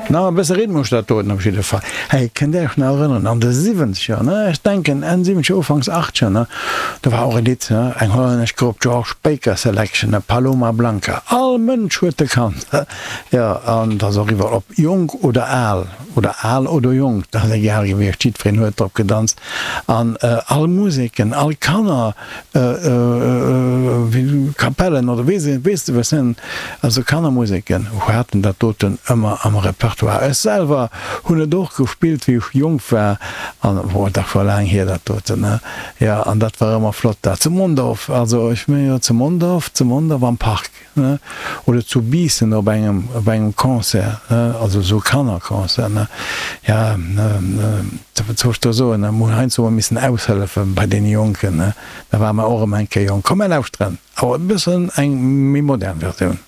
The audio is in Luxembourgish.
Na, e bësse Rhythmus dat doten op jidde Fall. Hey, kënnt Är Iech nach erënneren, an de Siwwenzeger, ne, ech denken Enn Siwwenzeger, Ufanks Achtzeger, ne, do war och e Lidd, ne, eng hollännesch Grupp, George Baker Selection, ne, Paloma Blanca. All Mënsch huet e kannt, ne. Jo, an et ass och iwwer, ob jonk oder al, oder al oder jonk, dat ass egal gewiescht, jiddwereen huet drop gedanzt. An all Museken, all Kanner, Kapellen oder weess weess de was ne, also Kannermuseken haten dat doten ëmmer am Repertoire. Ech selwer hunn et och gespillt wéi ech jonk war an oh dat war laang hier dat doten ne, jo an dat war ëmmer flott dat zu Mondorf, also ech mengen jo zu Mondorf, zu Mondorf am Park ne oder zu Biissen op engem op engem Concert ne, also esou Kannerconcert ne, ja ne wat soll ech do soen ne, mer hunn heiansdo emol missen aushëllefe bei deene Jonken ne, da ware mer och erëm eng Kéier jonk. Komm mer lauschteren awer e bëssen eng méi modern Versioun.